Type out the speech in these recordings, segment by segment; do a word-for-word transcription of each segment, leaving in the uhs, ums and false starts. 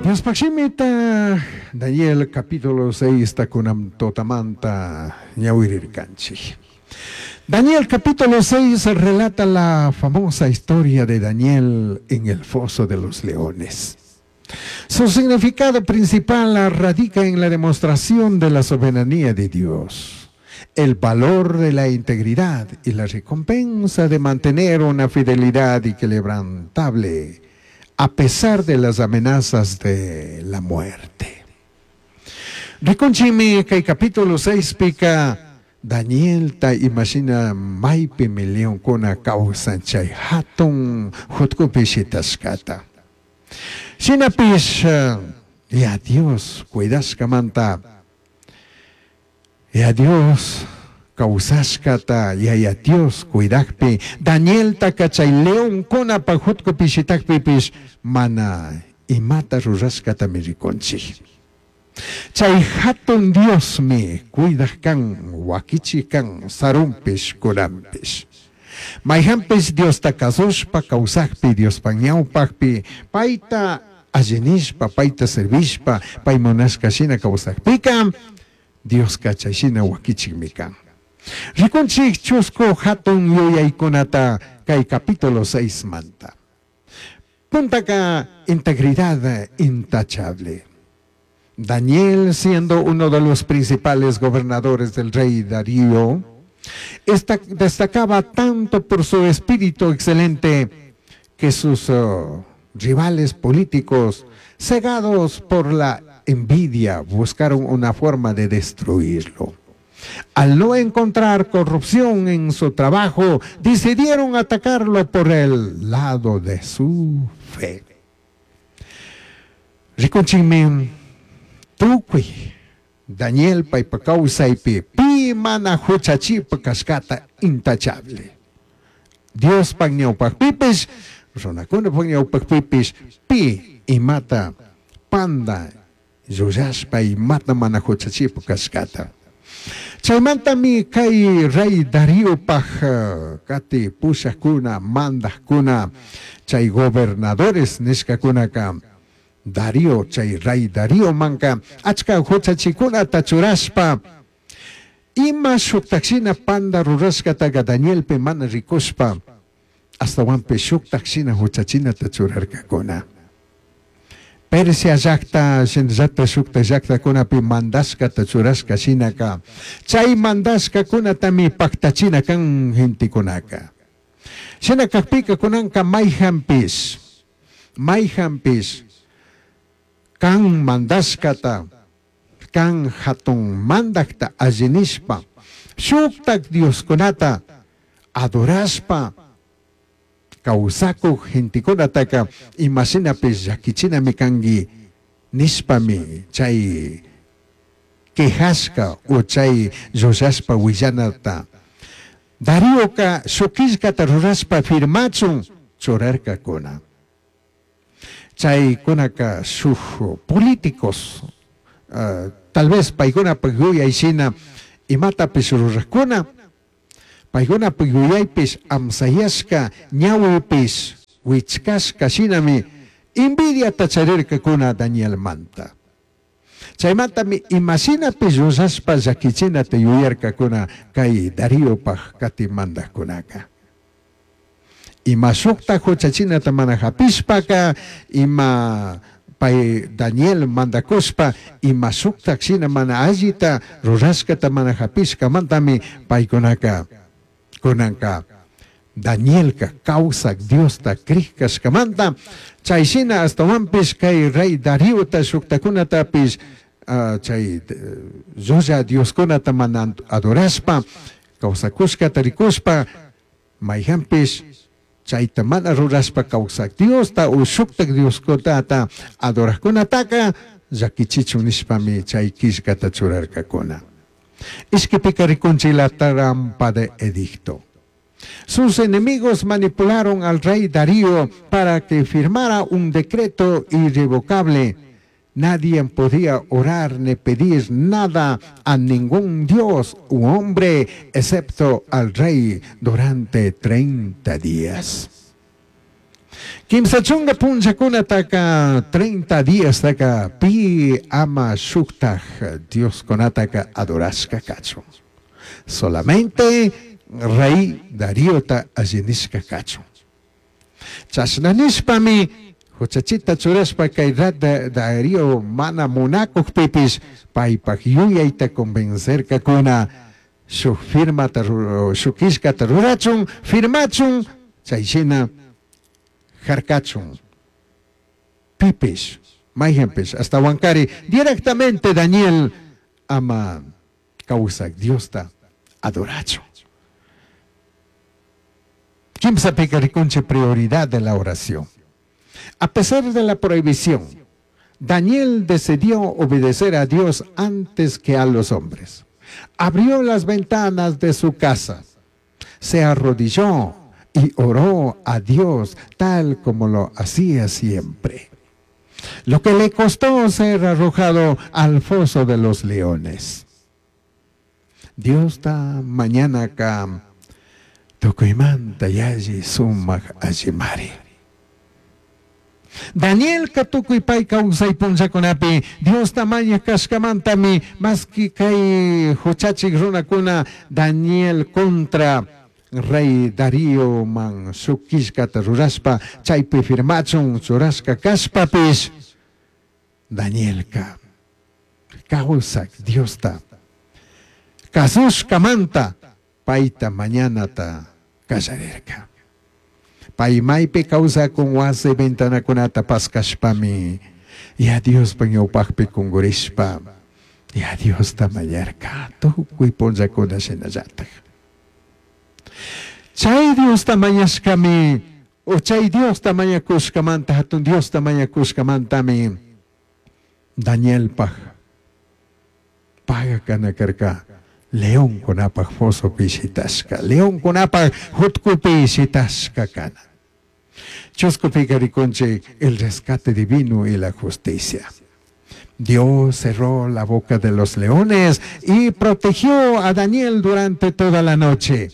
Diospaj shimita Daniel capítulo seis takunam totamanta ñawirirkanchik. Daniel capítulo seis relata la famosa historia de Daniel en el foso de los leones. Su significado principal radica en la demostración de la soberanía de Dios, el valor de la integridad y la recompensa de mantener una fidelidad inquebrantable a pesar de las amenazas de la muerte. Rikunchimi kay capítulo seis pika Daniel ta imashina maypimi leonkuna kawsan chay hatun jutkupi shitashkata. Shinapish ya Dios cuidashkamanta, ya Dios kawsashkata, ya ya Dios cuidakpi Danieltaka chay leonkunapaj jutkupi shitakpipish mana imata rurashkatami rikunchik. Chay hatun Diosmi cuidak kan, wakichi kan, sarunpish, kunanpish. Mayhanpish Diosta kasushpa kawsakpi, Diospa ñawpakpi, payta allinishpa, payta servishpa, pay munashka shina kawsakpika, Dioska chay shina wakichikmi kan. Rikunchik chusku hatun yuyaykunata kay capítulo seis manta. Puntaka integridad intachable. Daniel, siendo uno de los principales gobernadores del rey Darío, esta, destacaba tanto por su espíritu excelente que sus, oh, rivales políticos, cegados por la envidia, buscaron una forma de destruirlo. Al no encontrar corrupción en su trabajo, decidieron atacarlo por el lado de su fe. Rikunchikmi tukuy Daniel paypa kawsaypi pi mana huchachipa kashkata intachable. Diospaj ñawpajpipish, runakunapaj ñawpajpipish, pi imata panda llullashpa imata mana huchachipa kashkata. Chaymantami kay rey Dariopaj, eh, kati pushakuna, mandajkuna, chay gobernadores nishkakunaka, Darío, chay rey Darío manka, achka huchachikunata churashpa, ima shuktakshina panda rurashkataga Danielpi mana rikushpa, astawanpi shuktakshina huchachinata churarkakuna. Persia llakta, shinallata shukta llaktakunapi mandashkata churashka shinaka, chay mandashkakunatami paktachina kan gentekunaka. Shina kakpika kunanka mayhanpish, mayhanpish, kan mandashkata, kan hatun mandakta allinishpa, shuktak dioskunata adorashpa, kawsakuq gentekunataka imashinapish llakichinami kanki nishpami chay quejashka o chay llullashpa willanata. Darioka shukishkata rurashpa firmachun churarkakuna. Chaykunaka shuk políticos, uh, tal vez paykunapaj yuyayshina imatapish rurajkuna, paykunapaj yuyaypish amsayashka ñawipish wichkashka shinami envidiata charirkakuna Danielmanta. Chaymantami imashinapish llullashpa llakichinata yuyarkakuna kay Dariopaj kati mandajkunaka. Ima shukta huchachinata mana hapishpaka, ima pay Daniel mandakushpa, ima shukta shina mana allita rurashkata mana hapishkamantami paykunaka kunanka Danielka kawsak Diosta krikashkamanta, chay shina astawanpish kay rey Dariota shuktakunatapish, uh, chay, uh, llulla dioskunata mana adorashpa, kawsakushkata rikushpa, mayhanpish chayta mana rurashpa kawsak Diosta o shuktak dioskunata adorajkunataka llakichichun nishpami chay killkata churarkakuna. Ishkipika rikunchik la trampa de edicto. Sus enemigos manipularon al rey Darío para que firmara un decreto irrevocable. Nadie podía orar ni pedir nada a ningún dios u hombre, excepto al rey, durante treinta días. Kimsa chunka punllakunataka treinta días taka pi ama shuktaj Dioskunataka adorashka kachun. Solamente rey Dariota allinishka kachun. Chashna nishpami huchachita churashpa kay Darío mana munakukpipis paypak yuyayta convencerkakuna shuk firmata shuk killkata rurachun firmachun chayshina harkachun pipish mayhanpish hasta Huancari directamente Daniel ama kawsak Diosta adorachun. Kimsapika rikunchik prioridad de la oración. A pesar de la prohibición, Daniel decidió obedecer a Dios antes que a los hombres. Abrió las ventanas de su casa, se arrodilló y oró a Dios tal como lo hacía siempre. Lo que le costó ser arrojado al foso de los leones. Dios está mañana acá, tukuymanta yalli sumak allimari. Daniel katukuy pay kawsay punllakunapi Dios tamaña kashkamantami maski kay huchachik runakuna Daniel contra rey Darío man shuk killkata rurashpa chaypi firmachun churashka kashpapish Danielka kawsak Diosta kasushkamanta payta mañanata kallarirka. Pay maypi kawsakun wasi ventanakunata paskashpami ya Diospa ñawpaqpi kunkurishpa ya Diosta mañarka tukuy punllakuna shinallatak. Chay Diosta mañashkami o chay Diosta mañakushkamanta hatun Diosta mañakushkamantami Danielpaj paga kana karka león kunapaj fosopi shitashka, león kunapaj jutkupi shitashka kana. Chuskupi rikunchik el rescate divino y la justicia. Dios cerró la boca de los leones y protegió a Daniel durante toda la noche.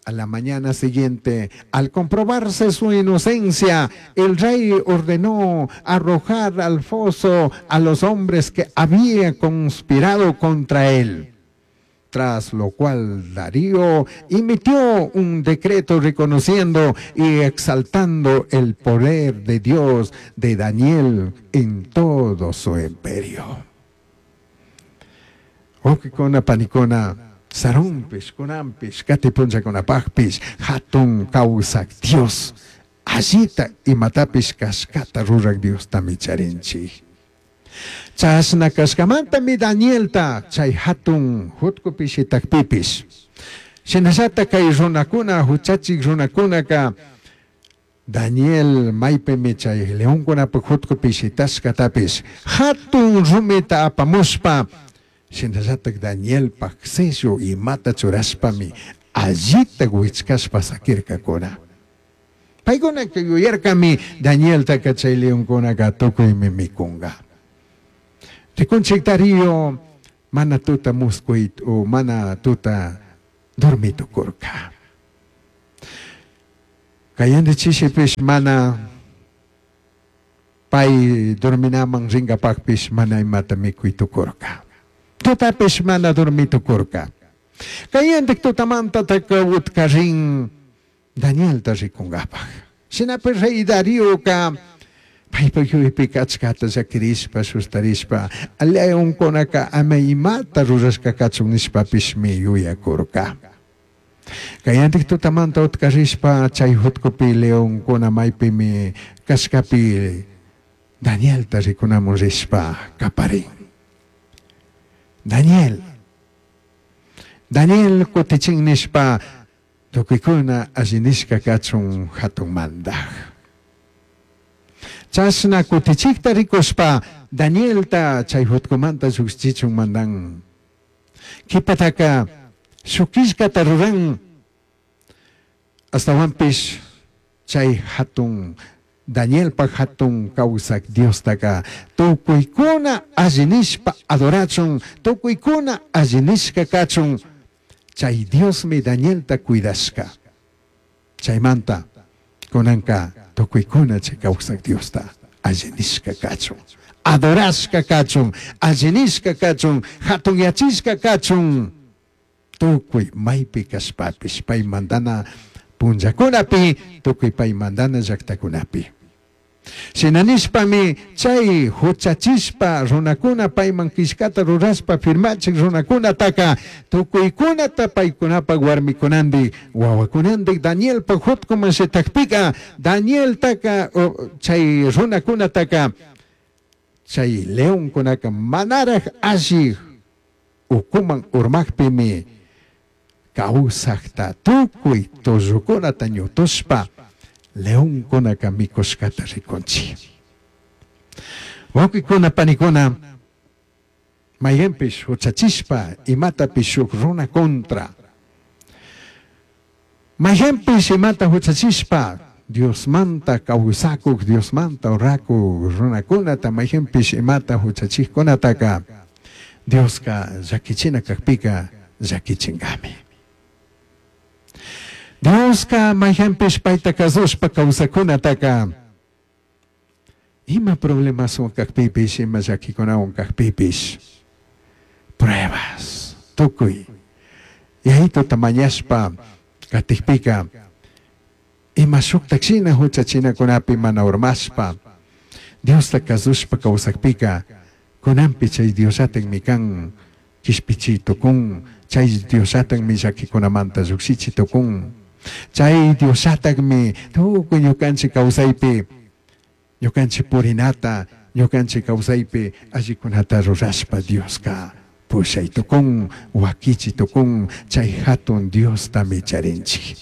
A la mañana siguiente, al comprobarse su inocencia, el rey ordenó arrojar al foso a los hombres que habían conspirado contra él. Tras lo cual Darío emitió un decreto reconociendo y exaltando el poder de Dios de Daniel en todo su imperio. Wawqikuna panikuna, sarunpish, kunanpish, kati punllakunapaqpish, hatun kawsak Dios, allita imatapish kashkata rurak Diostami charinchik. Chashna kashkamantami Danielta chay hatun jutkupi shitakpipish. Shinallata kay runakuna, huchachik runakunaka Daniel maypimi chay leonkunapa jutkupi shitashkatapish hatun rumita apamushpa shinallatak Danielpak sello imata churashpami allita wichkashpa sakirkakuna. Paykunaka yuyarkami Danieltaka chay leonkunaka tukuymi mikunka. Rikunchik Darío mana tuta muskuy o mana tuta dormitukurka. Kayandi chishipish mana pay dorminaman rinkapaqpish mana imata mikuytukurka. Tutapish mana dormitukurka. Kayandik tutamantataka utkarin Danielta rikunkapaq. Shinapish rey Darioka paypak yuyaypika achkata llakirishpa sustarishpa leonkunaka ama imata rurashka kachun nishpapishmi yuyakurka. Kayantik tutamanta utkarishpa chay jutkupi leonkuna maypimi kashkapi Danielta rikunamun rishpa kaparin. Daniel, Daniel kutichin nishpa tukuykuna allinishka kachun hatun mandaj. Chashna kutichikta rikushpa Danielta chay jutkumanta lluqchichun mandan. Qhipataka shuk killkata ruran astawanpish chay hatun Danielpak hatun kawsak Diostaka tukuykuna allinishpa adorachun, tukuykuna allinishka kachun. Chay Diosmi Danielta cuidashka. Chaymanta Kunanka tukuykuna chay kawsaq Diosta allinishka kachun, adorashka kachun, allinishka kachun, hatunyachishka kachun, tukuy maypi kashpapish pay mandana punllakunapi, tukuy pay mandana llaktakunapi. Shina nishpami chay huchachishpa runakuna payman killkata rurashpa firmachik runakunataka tukuykunata paykunapak warmikunandik wawakunandik Danielpak hutkuman shitakpika Danieltaka chay runakunataka chay leonkunaka manaraj alli ukuman urmakpimi kawsakta tukuy tullukunata ñutushpa leonkunaka mikushkata rikunchik. Wawqikuna panikuna mayqanpish huchachishpa imatapish shuk runa contra mayqanpish imata huchachishpa Diosmanta kawsakuk Diosmanta orakuk runakunata mayqanpish imata huchachikkunataka Dioska llakichina kakpika llakichinkami. Dioska mayqanpish payta kasushpa kawsakunataka ima problemaswan kakpipish ima llakikunawan kakpipish pruebas tukuy yayituta mañashpa katikpika ima shuktak shina huchachinakunapi mana urmashpa Diosta kasushpa kawsakpika kunanpi chay Diosllatakmi kan kishpichi tukun, chay Diosllatakmi llakikunamanta llukshichi tukun, chay Diosllatakmi tukuy ñukanchik kawsaypi ñukanchik purinata ñukanchik kawsaypi allikunata rurashpa Dioska pushay tukun, wakichi tukun, chay hatun Diostami charinchik.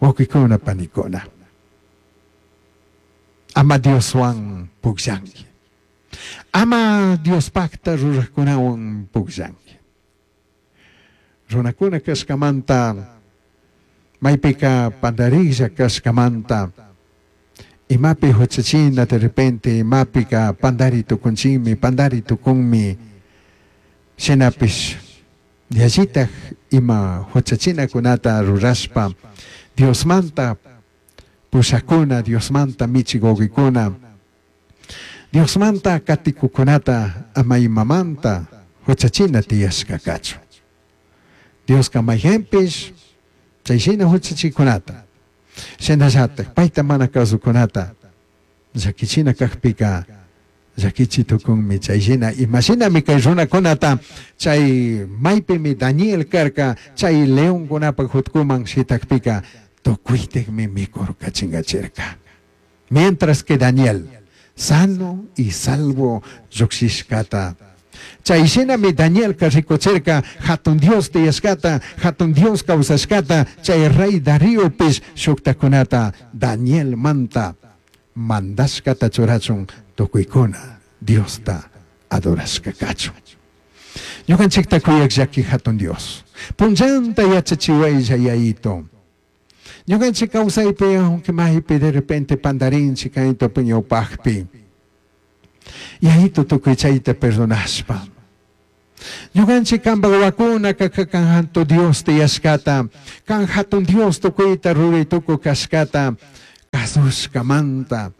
Wawqikuna panikuna, ama Dioswan pukllanki, ama Diospakta ruraqkunawan pukllanki. Runakuna kashkamanta maypika pandarilla kashkamanta imapi huchachina de repente imapika pandari tukunchikmi pandari tukunmi shinapish yallitaj ima huchachinakunata rurashpa Diosmanta pushakuna, Diosmanta michik wawqikuna, Diosmanta katikukunata ama imamanta huchachina tiyashka kachun. Dioska mayqanpish chayshina huchachikunata shinallatak payta mana kasukunata llakichina kakpika llakichi tukunmi. Chayshina imashinami kay runakunata chay maypimi Daniel karka chay leonkunapak hutkuman shitakpika tukuytikmi mikurka chinkachirka. Mientras que Daniel sano y salvo llukshishkata. Chayshinami Danielka rikuchirka hatun Dios tiyashkata, hatun Dios kawsashkata, chay rey Dariopish shuktakunata Daniel manta mandashkata churachun tukuykuna Diosta adorashka kachun. Ñukanchikta kuyak llaki hatun Dios. Punllanta yachachiwaylla yayito. Ñukanchik kawsaypi aunque maypi de repente pandarinchik kayto ñawpaqpi. Yayito tukuy chayta perdonashpa. Ñukanchik kanpak wawakuna kan hatun Dios tiyashkata, kan hatun Dios tukuyta ruray tukuy kashkata kasushkamanta.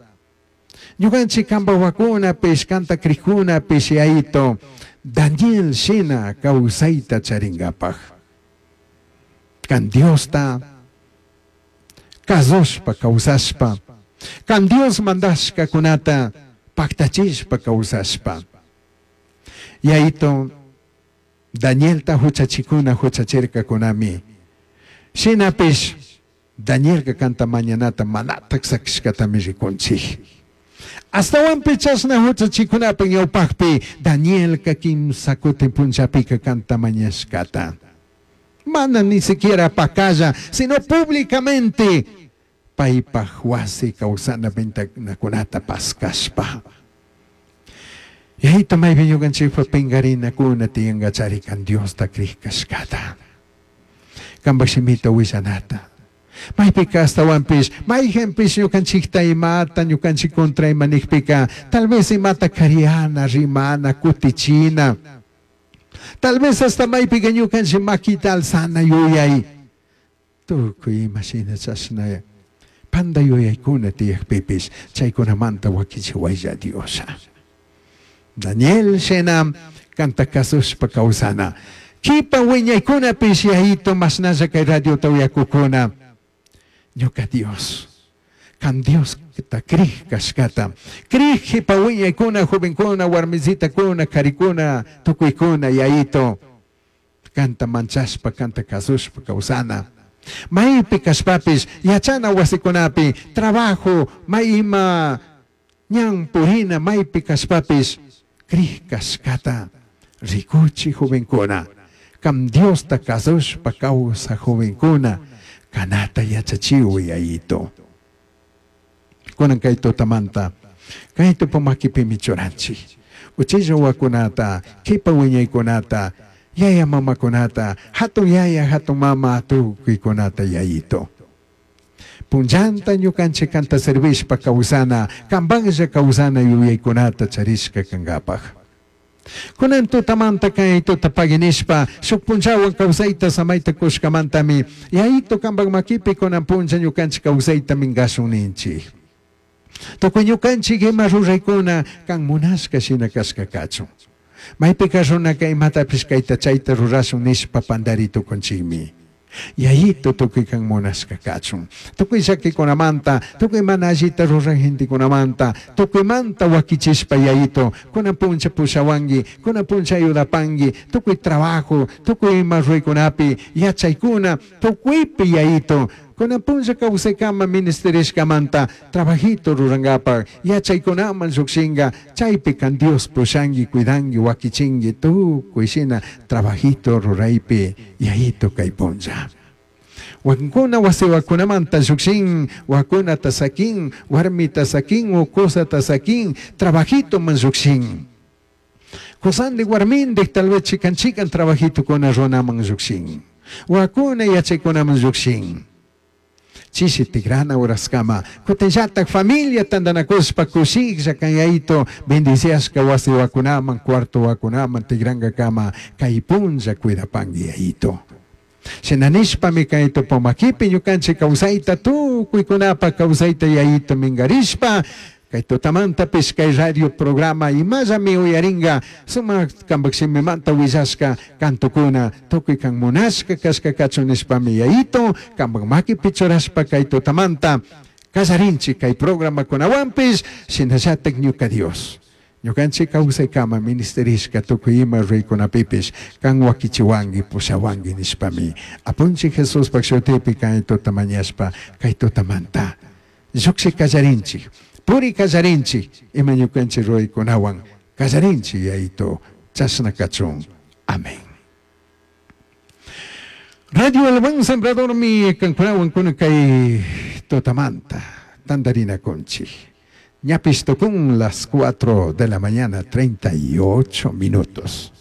Ñukanchik kanpak wawakunapish kanta krikkunapish yayito Daniel shina kawsayta charingapaj. Kan Diosta kasushpa kawsashpa, kan Dios mandashkakunata paktachishpa kawsashpa. Yayito Danielta huchachikuna huchachirkakunami. Shinapish Danielka kanta mañanata manatak sakishkatami rikunchik. Astawanpi chashna huchachikunapaq ñawpaqpi Danielka kimsa kutin punllapika kanta mañashkata. Mana ni siquiera pakalla, sino públicamente paypaj wasi kawsana ventanakunata paskashpa. Yayito maypi ñukanchikpa pinkarinakuna tiyankachari kan Diosta krikashkata. Kanpak shimita willanata. Maypika astawanpish mayqanpish ñukanchikta imata ñukanchik contra ima nikpika tal vez imata kariana, rimana, kutichina. Tal vez hasta maypika ñukanchik makita alzana yuyay. Tukuy ima shina chashna Panda yuyaykuna tiyakpipis chaykunamanta wakichiwaylla Diosha. Daniel shina kanta kasushpa kawsana. Kipa wiñaykunapish yayito mashnalla kay radiota uyakukuna. Ñuka Dios, kan Dios ta krij kashkata. Krij kipa wiñaykuna, jovenkuna, warmisitakuna, karikuna, tukuykuna yayito. Kanta manchashpa, kanta kasushpa kawsana. Maypi kashpapis yachana wasikunapi, trabajo, may ima ñan purina maypi kashpapis krij kashkata rikuchi jovenkuna. Kam Diosta kasushpa kawsa jovenkuna kanata yachachiwi yayito. Kunan kay tutamanta kay tupumakipimi churanchik. Uchilla wakunata, kipa wiñaykunata, yaya mamakunata, hatun yaya, hatun mama tukuykunata yayito. Punllanta ñukanchik kanta servishpa kawsana, kampanlla kawsana yuyaykunata charishka kankapaj. Kunan tutamanta kay tuta paginishpa, shuk punllawan kawsayta samayta kushkamantami, yayito kampak makipi kunan punlla ñukanchik kawsayta minkashun ninchik. Tukuy ñukanchik ima ruraykuna kan munashka shina kashka kachun. Maypika runaka imatapish kayta chayta rurashun nishpa pandari tukunchikmi. Yayito tukuy kan munashka kachun. Tukuy llakikunamanta, tukuy mana allita ruran gentekunamanta, tukuymanta wakichishpa yayito, kunan puncha pushawanki, kunan puncha ayudapanki, tukuy trabajo, tukuy ima ruraykunapi, yachaykuna, tukuypi yayito, kunan puncha kawsaykama ministerishkamanta, trabajito rurankapaj, yachaykunaman llukshinka, chaypi kan Dios pushanki, cuidanki, wakichinki, tukuy shina trabajito ruraypi yayito kay puncha. Wakinkuna wasiwakunamanta llukshin, wakunata sakin, warmita sakin, ukusata sakin, trabajito man llukshin. Kusandi warmindik tal vez chikan chikan trabajito kuna runaman llukshin. Wakuna yachaykunaman llukshin. Chishi tigrana uraskama, kutinllatak familia tantanakushpa kushiklla kan yayito bendiciashka wasi wakunaman, cuarto wakunaman tigrankakama kay punlla cuidapanki yayito. Shinanishpami kay tupumakipi ñukanchik kawsayta tukuykunapa kawsayta yayito minkarishpa kay tutamantapish kay radio programa imallami uyarinka sumak kampak shimimanta willashka kantukuna tukuy kan munashka kashka kachun nishpami yayito kampak makipi churashpa kay tutamanta kallarinchik kay programakunawanpish shinallatak ñuka Dios. Ñukanchik kawsaykama ministerishka tukuy ima ruraykunapipish kan wakichiwanki pushawanki nishpami apunchik Jesuspak shutipi kay tuta mañashpa kay tutamanta lluksik kallarinchik puri kallarinchik ima ñukanchik ruraykunawan kallarinchik yayito chashna kachun. Amén. Radio El Buen Sembrador mi kankunawan kuna kay tutamanta tandarina kunchik. Ñapis tocún las cuatro de la mañana, treinta y ocho minutos.